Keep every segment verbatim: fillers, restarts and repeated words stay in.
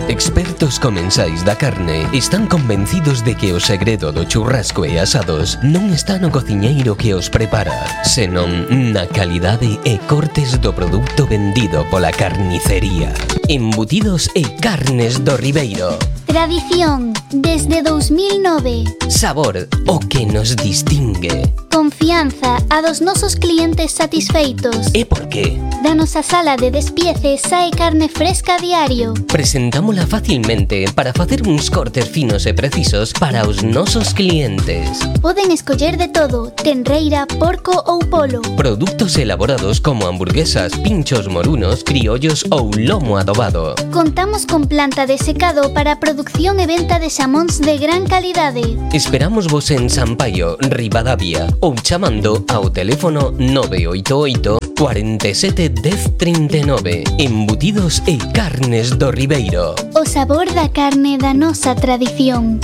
Expertos comensais da carne están convencidos de que o segredo do churrasco e asados non está no cociñeiro que os prepara, senón na calidade e cortes do produto vendido pola carnicería. Embutidos e carnes do Ribeiro. Tradición, desde dos mil nove. Sabor, o que nos distingue. Confianza, a dos nosos clientes satisfeitos. E por qué? Da nosa sala de despieces sae carne fresca a diario. Presentámola facilmente para facer uns cortes finos e precisos para os nosos clientes. Poden escoller de todo, tenreira, porco ou polo. Produtos elaborados como hamburguesas, pinchos morunos, criollos ou lomo adobado. Contamos con planta de secado para producción e venta de xamóns de gran calidade. Esperamos vos en Sampaio, Ribadavia, ou chamando ao teléfono nove oito oito, cuarenta e sete, dez, trinta e nove. Embutidos e carnes do Ribeiro. O sabor da carne da nosa tradición.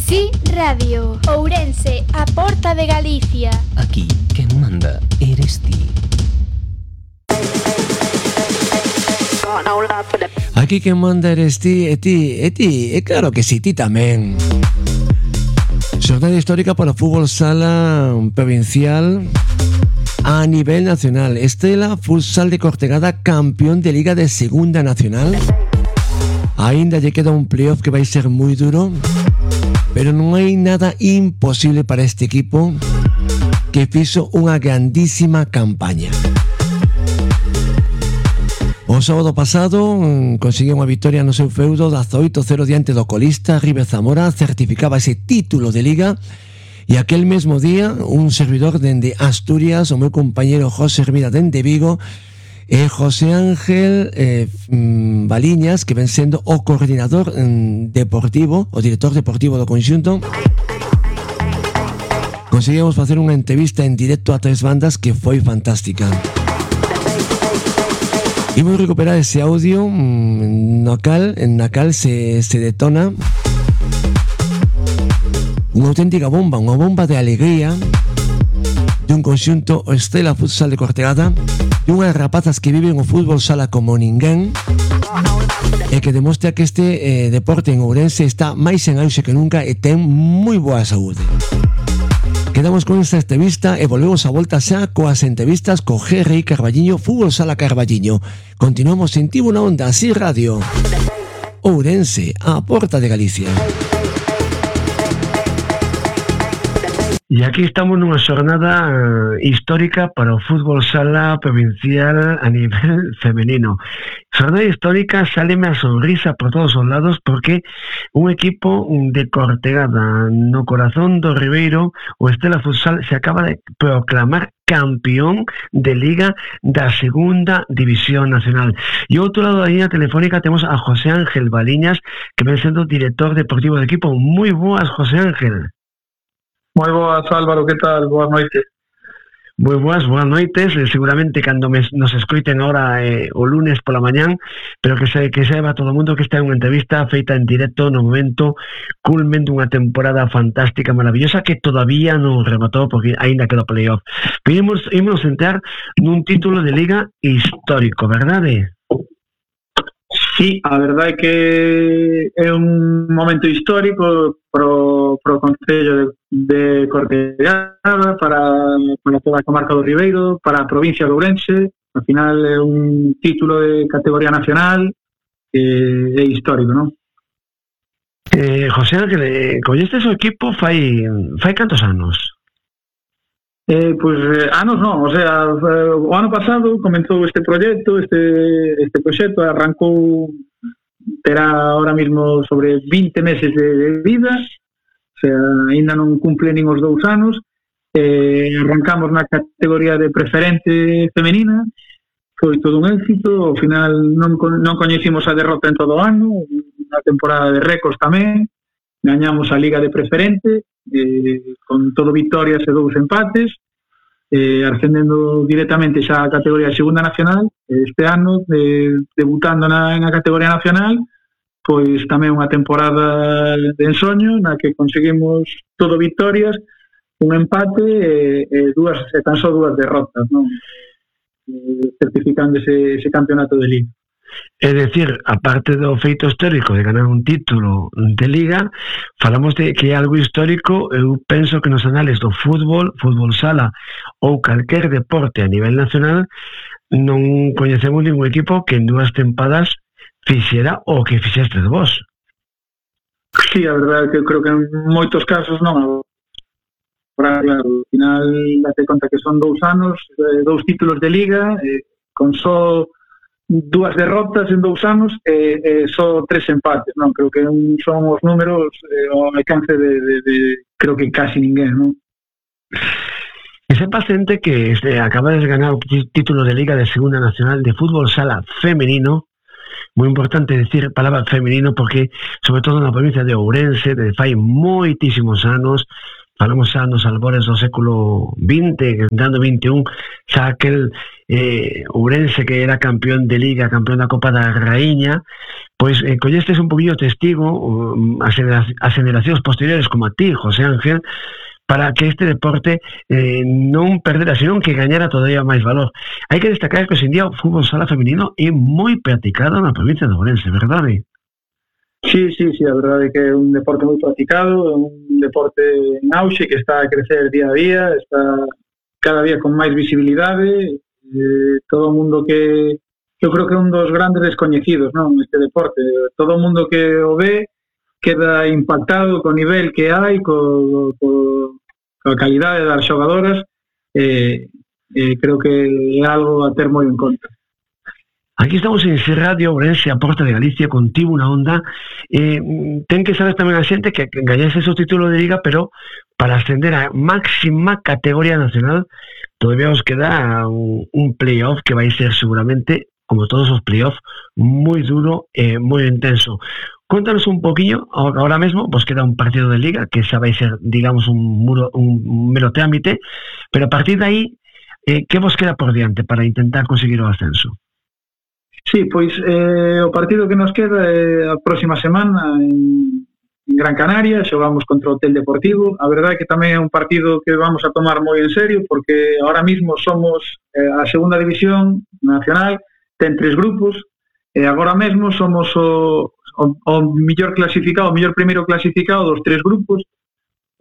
Sí Radio, Ourense, a porta de Galicia. Aquí, quen manda, eres ti. Aquí quen manda eres ti, e ti, e ti, e claro que si, ti tamén. Xornada histórica para o fútbol sala provincial a nivel nacional. Estela Futsal de Cortegada, campeón de Liga de Segunda Nacional. Ainda lle queda un playoff que vai ser moi duro, pero non hai nada imposible para este equipo que fixo unha grandísima campaña. O sábado pasado conseguiu unha victoria no seu feudo dezoito cero diante do colista River Zamora, certificaba ese título de Liga. E aquel mesmo día un servidor dende Asturias, o meu compañero José Hermida dende Vigo, e José Ángel eh, Baliñas, que ven sendo o coordinador mm, deportivo, o director deportivo do conxunto, conseguimos facer unha entrevista en directo a tres bandas que foi fantástica. Imos recuperar ese audio mmm, no cal, en na cal se, se detona unha auténtica bomba, unha bomba de alegría de un conxunto Estela Futsal de Cortegada, de unhas rapazas que viven o fútbol sala como ninguén e que demostra que este eh, deporte en Ourense está máis en auxe que nunca e ten moi boa saúde. Quedamos con esta entrevista e volvemos a volta xa coas entrevistas co G R I Carballiño, Fútbol Sala Carballiño. Continuamos en Tibo na Onda, así Radio. Ourense, a porta de Galicia. E aquí estamos nunha xornada histórica para o fútbol sala provincial a nivel femenino. Xornada histórica, sáleme a sonrisa por todos os lados porque un equipo de Cortegada no corazón do Ribeiro, o Estela Futsal, se acaba de proclamar campeón de Liga da Segunda División Nacional. E ao outro lado da línea telefónica temos a José Ángel Baliñas, que ven sendo director deportivo do equipo. Moi boas, José Ángel. Moi boas, Álvaro, que tal? Boas noites. Moi boas, boas noites, eh, seguramente cando me, nos escoiten ahora eh, o lunes pola mañán, pero que se que saiba todo o mundo que esta é unha entrevista feita en directo no momento culmen dunha temporada fantástica, maravillosa, que todavía non rematou porque aínda queda o playoff. Pero imos, imos entrar nun título de Liga histórico, verdade? Sí, a verdade é que é un momento histórico pro, pro Concello de, de Cortegada, para, para toda a comarca do Ribeiro, para a provincia de Ourense. Al final é un título de categoría nacional que é histórico, non? Eh, José Ángel, eh, collestes o equipo fai, fai cantos anos? Eh, pois pues, eh, anos non, o sea, o ano pasado comenzou este proxecto, este, este proxecto arrancou, terá ahora mismo sobre vinte meses de, de vida, o sea, ainda non cumple nin os dous anos. Eh, arrancamos na categoría de preferente femenina, foi todo un éxito, ao final non, non coñecimos a derrota en todo o ano, unha temporada de récords tamén, gañamos a Liga de Preferente, eh, con todo victorias e dous empates, eh, ascendendo directamente xa a categoría de Segunda Nacional. Este ano, eh, debutando na, na categoría nacional, pois tamén unha temporada de ensoño na que conseguimos todo victorias, un empate e, e, dúas, e tan só dúas derrotas, non? eh, certificando ese, ese campeonato de Liga. É dicir, aparte do feito histórico de ganar un título de Liga, falamos de que é algo histórico. Eu penso que nos anales do fútbol, fútbol sala ou calquer deporte a nivel nacional non coñecemos ningún equipo que en dúas tempadas fixera o que fixeste de vos. Sí, a verdade é que eu creo que en moitos casos non. Claro, ao final date conta que son dous anos, eh, dous títulos de Liga, eh, con só dúas derrotas en dous anos e eh, eh, só tres empates, non? Creo que un, son os números eh, ao alcance de, de, de creo que casi ninguén, non? Que sepa xente que este, acaba de ganar o título de Liga de Segunda Nacional de Fútbol Sala Femenino. Moi importante decir a palabra femenino porque, sobre todo na provincia de Ourense, de fai moitísimos anos, falamos xa nos albores do século vinte, dando vinte e un, xa aquel eh, Ourense que era campeón de Liga, campeón da Copa da Raíña, pois eh, collestes un poquillo testigo um, as, as generacións posteriores como a ti, José Ángel, para que este deporte eh, non perdera, senón que gañara todavía máis valor. Hai que destacar que hoxe en día o fútbol sala femenino é moi practicado na provincia de Ourense, verdade? Sí, sí, sí, a verdade é que é un deporte moi practicado, é un deporte en auxe que está a crecer día a día, está cada día con máis visibilidade, eh, todo o mundo que, eu creo que é un dos grandes descoñecidos, non, este deporte, todo o mundo que o ve queda impactado co nivel que hai, co, co, coa calidade das xogadoras, eh, eh, creo que é algo a ter moi en conta. Aquí estamos en C Radio Ourense, a Porta de Galicia, contigo na onda. Eh, ten que saber tamén a xente que gañase o título de Liga, pero para ascender a máxima categoría nacional todavía os queda un, un playoff que vai ser seguramente, como todos os playoff, moi duro e moi intenso. Cuéntanos un poquinho, ahora mesmo vos queda un partido de Liga que xa vai ser, digamos, un, muro, un mero trámite, pero a partir de aí, eh, que vos queda por diante para intentar conseguir o ascenso? Sí, pois eh, o partido que nos queda é a próxima semana en, en Gran Canaria, xogamos contra o Hotel Deportivo. A verdade é que tamén é un partido que vamos a tomar moi en serio, porque ahora mismo somos eh, a segunda división nacional, ten tres grupos, e agora mesmo somos o, o, o millor clasificado, o millor primeiro clasificado dos tres grupos.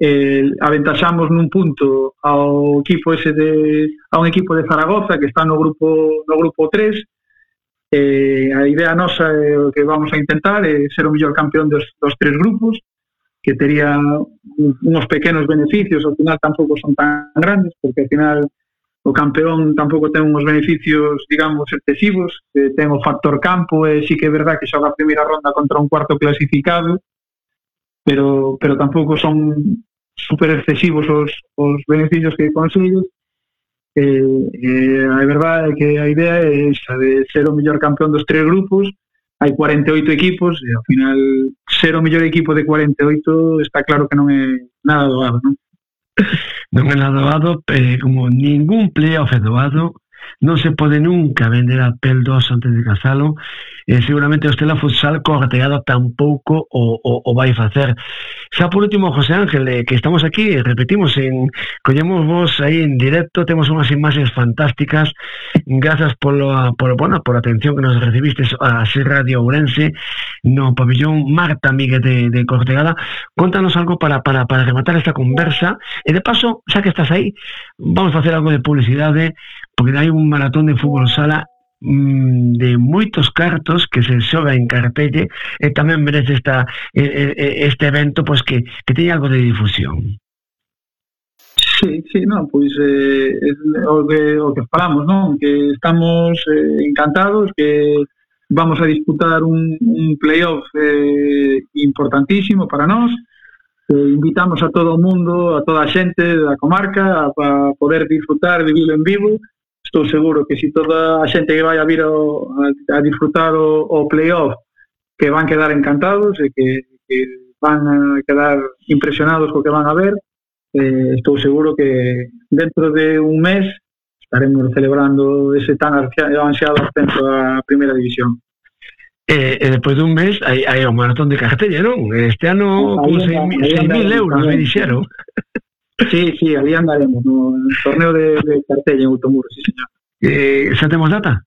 Eh, aventaxamos nun punto ao equipo ese de, a un equipo de Zaragoza que está no grupo no grupo tres. Eh, a idea nosa é o que vamos a intentar é ser o mellor campeón dos, dos tres grupos, que tería unos pequenos beneficios, ao final tampouco son tan grandes, porque ao final o campeón tampouco ten uns beneficios, digamos, excesivos, eh, ten o factor campo, e sí que é verdad que xoga a primeira ronda contra un cuarto clasificado, pero pero tampouco son super excesivos os, os beneficios que consigues. Eh, eh, a verdade é que a idea é esa de ser o mellor campeón dos tres grupos. Hai cuarenta e oito equipos e ao final ser o mellor equipo de cuarenta e oito está claro que non é nada doado, non? Non é nada doado, eh, como ningún playoff é doado, non se pode nunca vender a pel dos antes de casalo, e eh, seguramente o Estela Futsal corteado tampouco o, o, o vai facer. Xa por último, José Ángel, eh, que estamos aquí, repetimos, en collemos vos aí en directo, temos unhas imaxes fantásticas, grazas polo, polo, bueno, por a atención que nos recibistes a C Radio Ourense no pabillón Marta Míguez de, de Cortegada. Contanos algo para, para, para rematar esta conversa, e de paso, xa que estás aí, vamos a facer algo de publicidade, porque hai un maratón de fútbol sala de moitos cartos que se xoga en Cartelle, e tamén merece esta, este evento pois que, que teña algo de difusión. Sí, sí, non, pois eh, o, que, o que falamos, non? Que estamos eh, encantados, que vamos a disputar un, un playoff eh, importantísimo para nós. Eh, invitamos a todo o mundo, a toda a xente da comarca a, a poder disfrutar, vivirlo en vivo. Estou seguro que se si toda a xente que vai a vir o, a, a disfrutar o, o playoff, que van quedar encantados e que, que van a quedar impresionados co que van a ver. Eh, estou seguro que dentro de un mes estaremos celebrando ese tan ansiado ascenso a primeira división. E, e depois dun mes hai, hai o maratón de Cartelle, non? Este ano con seis mil euros me dixeron. Sí, sí, ali andaremos no torneo de, de Cartelle en Automuro, sí, señor. Eh, xa temos data?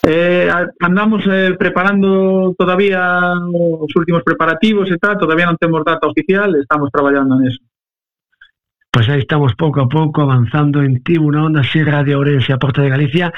Eh, andamos eh, preparando todavía os últimos preparativos e tal, todavía non temos data oficial, estamos traballando neso. Pois aí estamos pouco a pouco avanzando en Tibu na Onda Sierra de Ourense, a Porta de Galicia,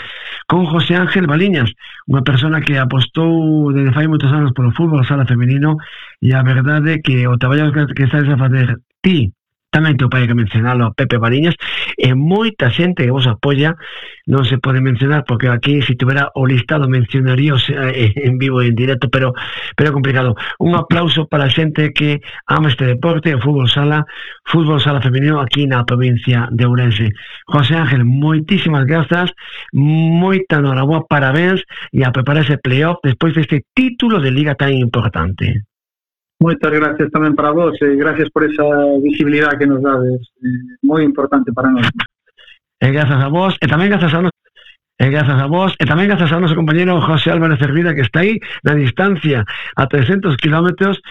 con José Ángel Baliñas, unha persona que apostou desde fai moitos anos polo fútbol sala femenino, e a verdade que o traballo que, que estás a fazer ti, tamén teu pai que mencionalo, Pepe Baliñas, e moita xente que vos apoia, non se pode mencionar porque aquí se tuvera o listado mencionaríos eh, en vivo e en directo, pero pero é complicado. Un aplauso para a xente que ama este deporte, o fútbol sala, fútbol sala femenino aquí na provincia de Ourense. José Ángel, moitísimas grazas, moita noraboa, parabéns, e a preparar ese playoff despois deste título de liga tan importante. Moitas gracias tamén para vos e gracias por esa visibilidade que nos dades, eh, moi importante para nós. E grazas a vos, e tamén grazas a nos e grazas a vos, e tamén grazas ao noso compañero José Álvarez Hervida, que está aí na distancia a trescentos kilómetros